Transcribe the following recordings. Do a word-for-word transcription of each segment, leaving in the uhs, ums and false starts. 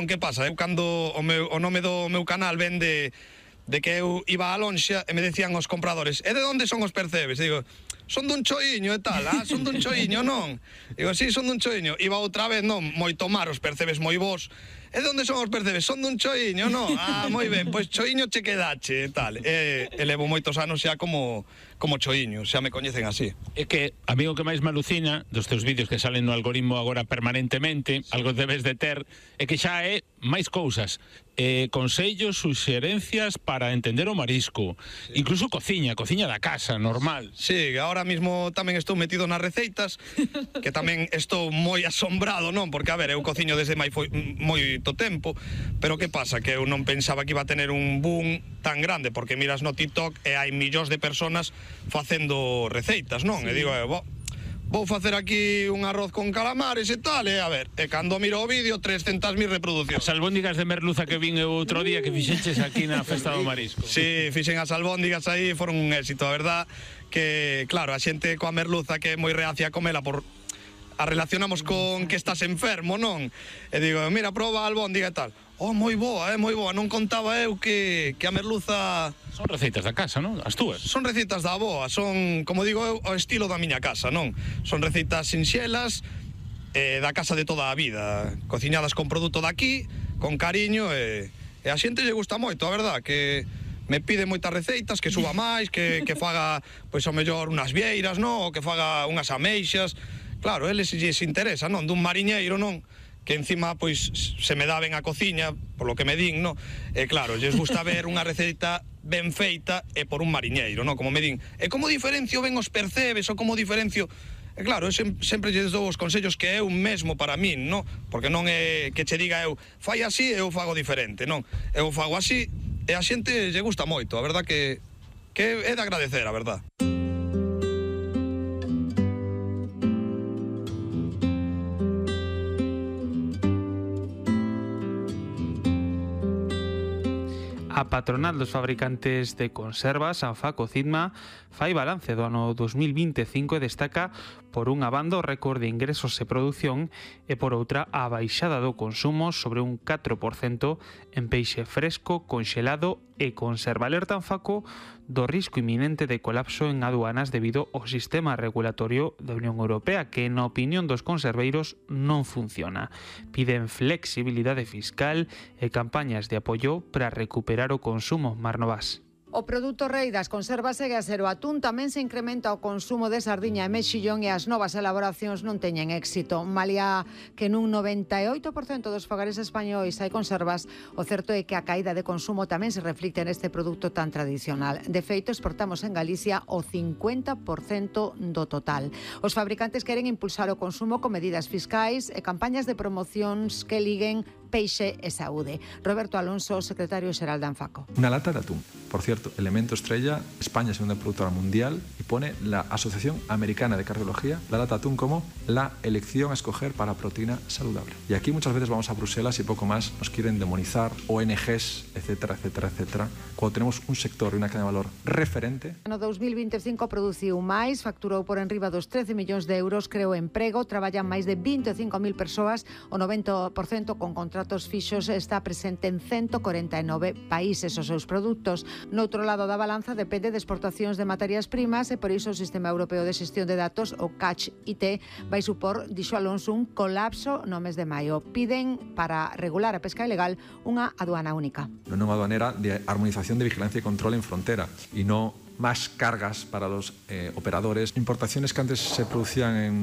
Que pasa? Eu cando o, meu, o nome do meu canal vende de que eu iba a lonxa e me decían os compradores: e de onde son os percebes? Digo, son dun choiño e tal, ah, son dun choiño, non? Digo, sí, son dun choiño. Iba outra vez, non, moito mar, os percebes moi vos. E de onde son os percebes? Son dun choiño, non? Ah, moi ben, pois choiño che quedache e tal. E, e levo moitos anos xa como, como choiño, xa me coñecen así. É que a mí o que máis me alucina dos teus vídeos que salen no algoritmo agora permanentemente, algo debes de ter, é que xa é máis cousas, eh, consellos, suxerencias para entender o marisco, sí. Incluso cociña, cociña da casa, normal. Sí, agora mismo tamén estou metido nas receitas, que tamén estou moi asombrado, non? Porque, a ver, eu cociño desde moi, moito tempo, pero que pasa? Que eu non pensaba que iba a tener un boom tan grande, porque miras no TikTok e hai millóns de personas facendo receitas, non? Sí. E digo, eh, bo, vou facer aquí un arroz con calamares e tal, e a ver, e cando miro o vídeo, trescentas mil reproduccións. As albóndigas de merluza que vin eu outro día que fixeches aquí na Festa do Marisco. Sí, fixen as albóndigas aí, foron un éxito, a verdad, que, claro, a xente coa merluza que é moi reacia a comela por... a relacionamos con que estás enfermo, non? E digo, mira, proba a albóndiga e tal. Oh, moi boa, eh, moi boa, non contaba eu que, que a merluza... Son receitas da casa, non? As túas? Son receitas da avoa, son, como digo eu, o estilo da miña casa, non? Son receitas sinxelas, eh, da casa de toda a vida, cociñadas con produto daqui, con cariño, e, e a xente lle gusta moito, a verdad, que me pide moitas receitas, que suba máis, que, que faga, pois, ao mellor, unhas vieiras, non? Ou que faga unhas ameixas. Claro, eles lles interesa, non? Dun mariñeiro, non? Que encima, pois, se me dá ben a cociña, por lo que me din, non? E claro, lles gusta ver unha receita ben feita e por un mariñeiro, non? Como me din, e como diferencio ben os percebes, ou como diferencio... E claro, eu sem, sempre lles dou os consellos que é un mesmo para min, non? Porque non é que che diga eu, fai así e eu fago diferente, non? Eu fago así e a xente lle gusta moito, a verdad que, que é de agradecer, a verdad. A patronal dos fabricantes de conservas, Anfaco Cidma, fai balance do ano dos mil vinte e cinco e destaca por unha banda o récord de ingresos e produción e por outra a baixada do consumo sobre un catro por cento en peixe fresco, conxelado e conserva. Alerta Anfaco do risco inminente de colapso en aduanas debido ao sistema regulatorio da Unión Europea que, na opinión dos conserveiros, non funciona. Piden flexibilidade fiscal e campañas de apoio para recuperar o consumo. Mar Novas. O produto rei das conservas segue a ser o atún. Tamén se incrementa o consumo de sardiña e mexillón e as novas elaboracións non teñen éxito. Malia que nun noventa e oito por cento dos fogares españois hai conservas, o certo é que a caída de consumo tamén se reflicte neste produto tan tradicional. De feito, exportamos en Galicia o cincuenta por cento do total. Os fabricantes queren impulsar o consumo con medidas fiscais e campañas de promocións que liguen peixe e saúde. Roberto Alonso, secretario xeral de Anfaco. Una lata de atún. Por cierto, elemento estrella, España es segunda productora mundial y pone la Asociación Americana de Cardiología la lata de atún como la elección a escoger para proteína saludable. Y aquí muchas veces vamos a Bruselas y poco más nos quieren demonizar, O N Ges, etcétera, etcétera, etcétera, cuando tenemos un sector y una cadena de valor referente. No dos mil vinte e cinco produciu máis, facturou por enriba dos trece millóns de euros, creou emprego, traballan máis de vinte e cinco mil persoas, o noventa por cento con contratos fixos, está presente en ciento cuarenta e nove países. Os seus produtos, no outro lado da balanza, depende de exportacións de materias primas e por iso o Sistema Europeo de Xestión de Datos, o Catch I T, vai supor, dixo Alonso, un colapso no mes de maio. Piden, para regular a pesca ilegal, unha aduana única. Una nueva aduanera de armonización de vigilancia y control en frontera y no más cargas para los eh, operadores. Importaciones que antes se producían en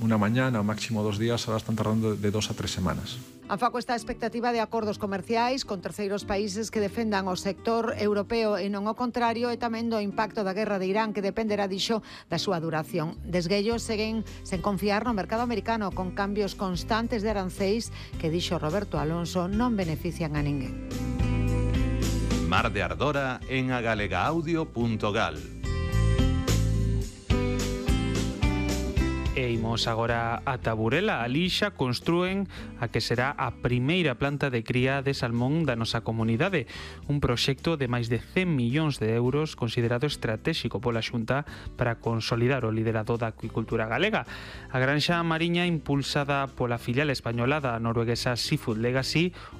una mañana o máximo dos días, ahora están tardando de dos a tres semanas. Anfaco está a expectativa de acordos comerciais con terceiros países que defendan o sector europeo e non o contrario, e tamén do impacto da guerra de Irán, que dependerá, dixo, da súa duración. Desguellos seguen sen confiar no mercado americano, con cambios constantes de aranceis que, dixo Roberto Alonso, non benefician a ninguén. Mar de Ardora en agalega audio punto gal. E imos agora a Taburela. Ali xa construen a que será a primeira planta de cría de salmón da nosa comunidade. Un proxecto de máis de cen millóns de euros considerado estratégico pola Xunta para consolidar o liderado da acuicultura galega. A granxa mariña impulsada pola filial española da norueguesa Seafood Legacy